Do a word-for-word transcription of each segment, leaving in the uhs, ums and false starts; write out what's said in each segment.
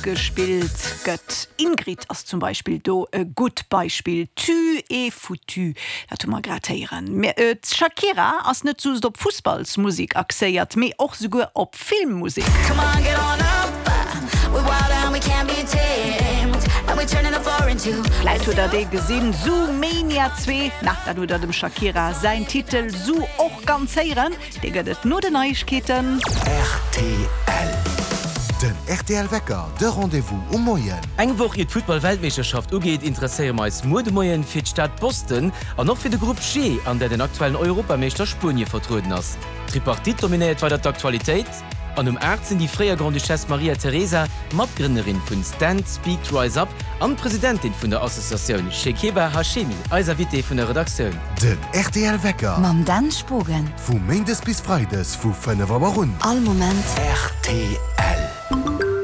gespillt gëtt. Ingrid ass zum Beispill do e gutt Beispill. Tu es foutu, dat hu mer grad héieren. Mä d'Shakira ass net just op Fussballsmusek axéiert, mee och souguer op Filmmusek. Come on, get on up. We're wild and we can't be tamed. And we're turning the floor into Vläit hutt der dee gesinn, Zoomania zwee. Na, dann hutt der dem Shakira säin Titel Zoo och ganz héieren. Dee gëtt et no den Neiegkeeten. Rtl. Den rtl Wecker, de Rendez-vous um Moien. Eng Woch ier d'Futtball-Weltmeeschterschaft ugeet, interesséiere mer eis muer de Moien fir d'Stad Boston an och fir de Grupp G, an där den aktuellen Europameeschter Spuenie vertrueden ass. D'Tripartite dominéiert weider d'Aktualitéit an um aacht sinn déi fréier Grande-Duchesse Maria Teresa, Matgrënnerin vun Stand Speak Rise Up an Presidentin vun der Associatioun Shekiba Hashemi eis Invitée vun der Redaktioun. Den rtl Wecker. Mam Dan Spogen. Vu Méindes bis Freides vu fënnef Auer un. All Moment. Rtl.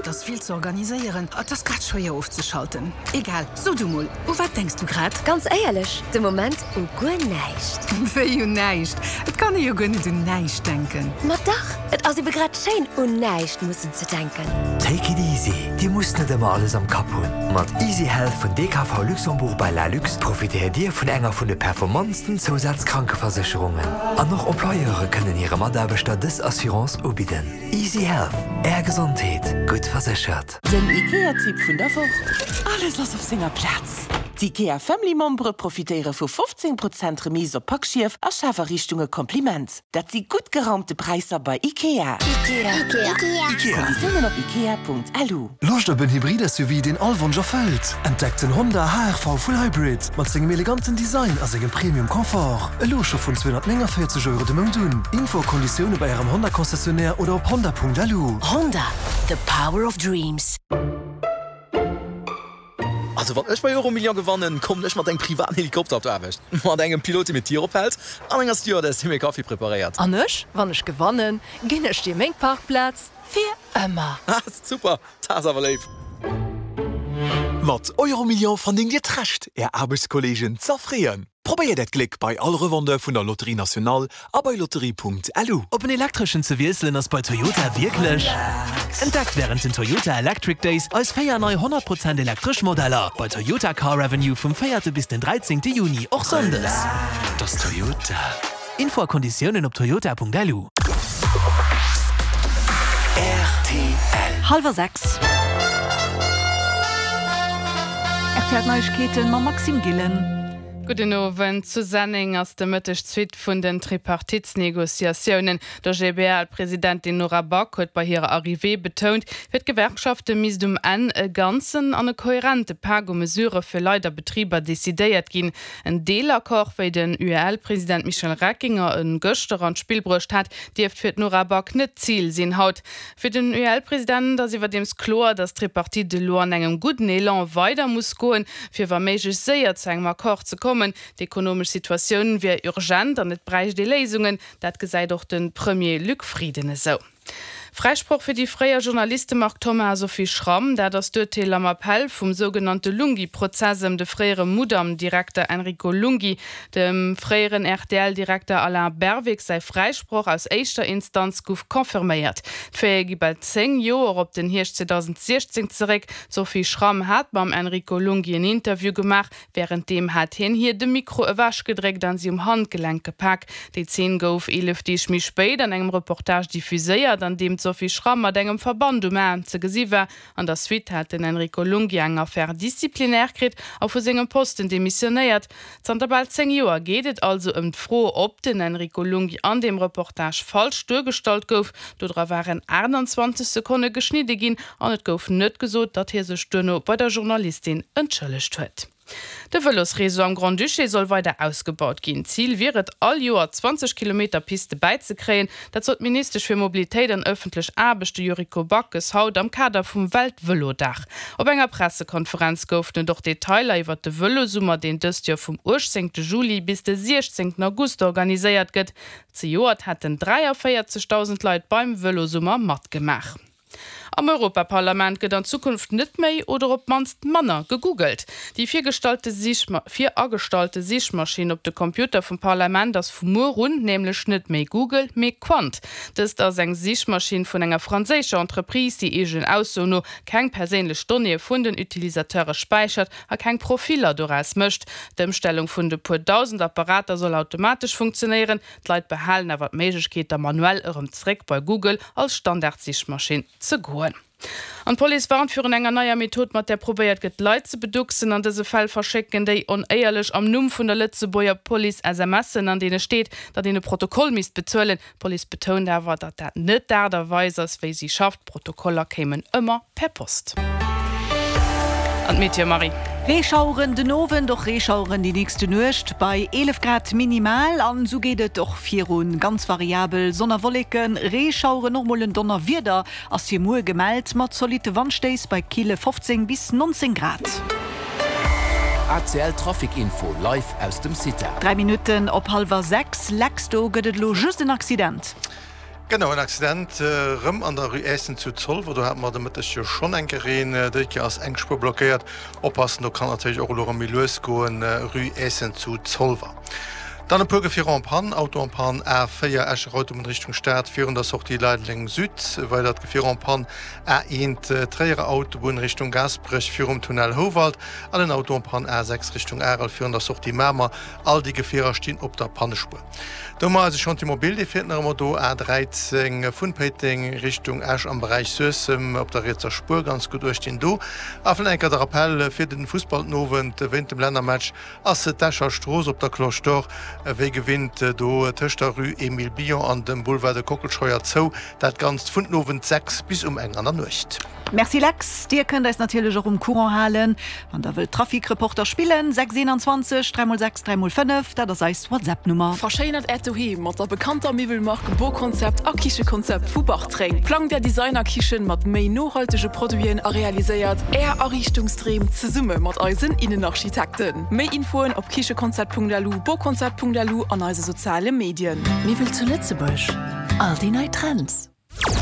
Et ass vill ze organiséieren, et ass grad schwéier ofzeschalten. Egal, so du mol, u wat denks du grad? Ganz éierlech, de Moment u guer näischt. Wéi un näischt? Et kann ee jo guer net un näischt denken. Ma dach, et ass ebe grad schéin, un näischt mussen ze denken. Take it easy, Dir musst net ëmmer alles am Kapp hunn. Mat Easy Health vun D K V Luxembourg by Lalux profitéiert Dir vun enger vun de performantsten Zousazkrankeversécherungen. An och Employeure kënnen hire Mataarbechter dës Assurance ubidden. Easy Health, Är Gesondheet, gutt verséchert. Den IKEA-Tipp vun der Woch. Alles ass op senger Plaz. D'IKEA Family Membere profitéiere vu fofzéng Prozent Remise op Packschief a Schafariichtunge Kompliment. Dat si gutt geraumte Präisser bei IKEA. IKEA. IKEA. Konditiounen op ikea Punkt L U. Loscht op en Hybrid-S U V, deen all Wonsch erfëllt? Entdeckt den Honda H R V Full Hybrid mat sengem eleganten Design a sengem Premium Confort. Elo scho vun zweehonnertnénganvéierzeg Euro de Mount un. Info a Konditioune bei ärem Honda Concessionnaire oder op honda Punkt L U. Honda, the power of dreams. Also wann ech bei Euromillion gewannen, kommen ech mat engem privaten Helikopter op d'Aarbecht. Mat engem Pilot, dee mir d'Dier ophält, an enger Stewardess, déi mir Kaffi preparéiert. An ech, wann ech gewannen, ginn ech dir meng Parkplaz fir ëmmer. Ah, super, dat ass awer léif. Mat Euromillion verdéngt Dir d'Recht, Är Aarbechtskolleegen z'erfreeën. Probéiert Äert Gléck bei all Revendeur vun der Loterie Nationale a bei lotterie Punkt L U. Op en elektreschen ze wiesselen ass bei Toyota wierklech. Entdeckt wärend den Toyota Electric Days eis véier nei honnert Prozent elektresch Modeller bei Toyota Car Avenue vum véierte bis den dräizéngte Juni, och sonndes. Dat ass Toyota. Info a Konditiounen op toyota Punkt L U. R T L. Hallwer sechs. R T L Neiegkeeten mam Maxime Gillen. Gudden Owend. Zu Senneng ass de Mëtteg d'Suite vun den Tripartitsnegociatiounen. D' O G B L-Presidentin Nora Back huet bei hirer Arrivée betount, fir d'Gewerkschafte misst um Enn e ganzen an e kohärente Pak u Mesurë fir Leit a Betriber decidéiert ginn. En Deelaccord, wéi den U E L-President Michel Reckinger e gëschter an d'Spill bruecht hat, dierft fir d'Nora Back net d'Zil sinn haut. Fir den U E L-President ass iwwerdeems kloer, datt d'Tripartite elo an engem gudden Elan weider muss goen, fir wa méiglech séier zu engem Accord ze kommen. D'ekonomesch Situatioun wier urgent an et bräicht ee Léisungen, dat gesäit och de Premier Luc Frieden esou. Fräisproch fir déi fréier Journaliste Marc Thoma a Sophie Schramm, dat ass d'Urteel am Appell vum sougenannte Lunghi-Prozess ëm de fréiere Mudam-Direkter Enrico Lunghi. Dem fréieren R T L-Direkter Alain Berwick säi Fräisproch aus éischter Instanz gouf confirméiert. D'Faite gi bal zéng Joer op den Hierscht zweedausendsiechzéng zeréck. D'Sophie Schramm hat mam Enrico Lunghi en Interview gemaach, wärenddeem hat hien hir de Mikro ewechgedréckt an si um Handgelenk gepak. Déi Zeen gouf eelef Deeg méi spéit an engem Reportage diffuséiert, an deem d'Sophie Schramm mat engem Verband um Aarm ze gesi war. An der Suite hat den Enrico Lunghi eng Affaire disciplinaire kritt a vu sengem Posten demissionéiert. Zanter bal zéng Joer geet et also ëm d'Fro, ob den Enrico Lunghi an deem Reportage falsch duergestallt gouf. Dodra waren aachtanzwanzeg Sekonne geschnidde ginn an et gouf net gesot, datt hie sech duerno bei der Journalistin entschëllegt huet. De Vëlosreseau am Grand-Duché soll weider ausgebaut ginn. Zil wier et, all Joer zwanzeg Kilometer Piste bäizekréien. Dat sot d'Ministesch fir Mobilitéit an ëffentlech Aarbechte Yuriko Backes haut am Kader vum Weltvëlodag. Op enger Pressekonferenz goufen et och Detailer iwwer de Vëlosummer, deen dëst Joer vum uechtzéngte Juli bis de siechzéngten August organiséiert gëtt. Zejoert hätten dräiavéierzegdausend Leit beim Vëlosummer matgemaach. Am Europaparlament gëtt an Zukunft net méi oder op d'mannst manner gegoogelt. Déi virgestallte Sichma viragestallte Sichmaschinn op de Computere vum Parlament ass vu muer un nämlech net méi Google, mee Qwant. Dëst ass eng Sichmaschinn vun enger franséischer Entreprise, déi eegenen Aussoen no keng perséinlech Donnéeë vun den Utilisateure späichert a keng Profiller doraus mécht. D'Ëmstellung vun de puer dausend Apparater soll automatesch funktionéieren, d'Leit behalen awer d'Méiglechkeet, da manuell erëm zeréck bei Google als Standardsichmaschinn ze goen. An d'Police warnt virun enger neier Method, mat där probéiert gëtt, Leit ze beducksen. An dëse Fäll verschécken déi Onéierlech am Numm vun der Lëtzebuerger Police SMSen, an deene steet, datt een e Protokoll misst bezuelen. D'Police betount awer, datt dat net d'Aart a Weis ass, wéi si schafft. D'Protokoller kéimen ëmmer per Post. An d'Meteo, Marie. Reeschaueren den Owend, och Reeschaueren déi nächste Nuecht bei eelef Grad minimal. An esou geet et och virun, ganz variabel, Sonn a Wolleken, Reeschaueren, och mol en Donnerwieder ass fir muer gemellt, mat zolitte Wandstéiss bei kille fofzéng bis nonzéng Grad. A C L Trafic Info live aus dem Cita. Dräi Minutten op hallwer sechs, Lex, do gëtt et elo just en Accident. Genau, en Accident erëm an der Rue Eessen zu Zolwer. Do hate mer de Mëtteg jo schonn eng Kéier een. Déi Kéier ass eng Spuer blockéiert. Oppassen, do kann natierlech och elo erëm méi lues goen, Rue Eessen zu Zolwer. Dann e puer Gefierer en panne, Auto en panne A véier Escher Autobunn Richtung Stad virun der Sortie Leideleng Süd, weidert Gefier en panne A eent Tréierer Autobunn Richtung Gaasperech virum Tunnel Houwald an en Auto en panne A sechs Richtung Arel virun der Sortie Mamer. All déi Gefierer stinn op der Pannespuer. Do hu mer eise Chantier mobile, dee fiert nach ëmmer do, A dräizéng vun Péiteng Richtung Esch am Beräich Suessem op der rietser Spuer, ganz gutt uecht dinn do. A vläicht enker de Rappell fir den Fussball den Owend, Wéint dem Lännermatch ass d'Escher Strooss op der Cloche d'Or wéi gewinnt do tëscht der Rue Émile Billon an dem Boulevard de Kockelscheuer zou, dat Ganzt vun den Owend sechs bis um eng an der Nuecht. Merci Lex, dir kënnt eis natierlech och um Courant halen, wann der wëllt Trafikreporter spillen, sechs eenanzwanzeg dräi mol sechs dräi mol fënnef, dat ass eis WhatsApp Nummer. Verschéinert Äert Doheem mat der bekannter Miwwelmark Boconcept a Kichekonzept vu Bartreng. Plangt Är Designerkichen mat méi nohaltege Produiten a realiséiert Är Ariichtungsdreem zesumme mat eisen Innenarchitekten. Méi Infoen op kichekonzept Punkt L U, boconcept Punkt L U an eise soziale Medien. Miwwel zu Lëtzebuerg, all déi nei Trends.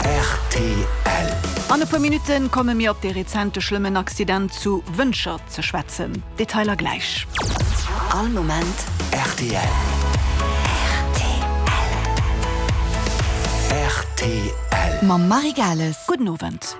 R T L. An e puer Minutten komme mir op dee rezente schlëmmen Accident zu Wëntger ze schwätzen. Detailer gläich. All Moment R T L. R T L. Mam Marie Gales. Gudden Owend.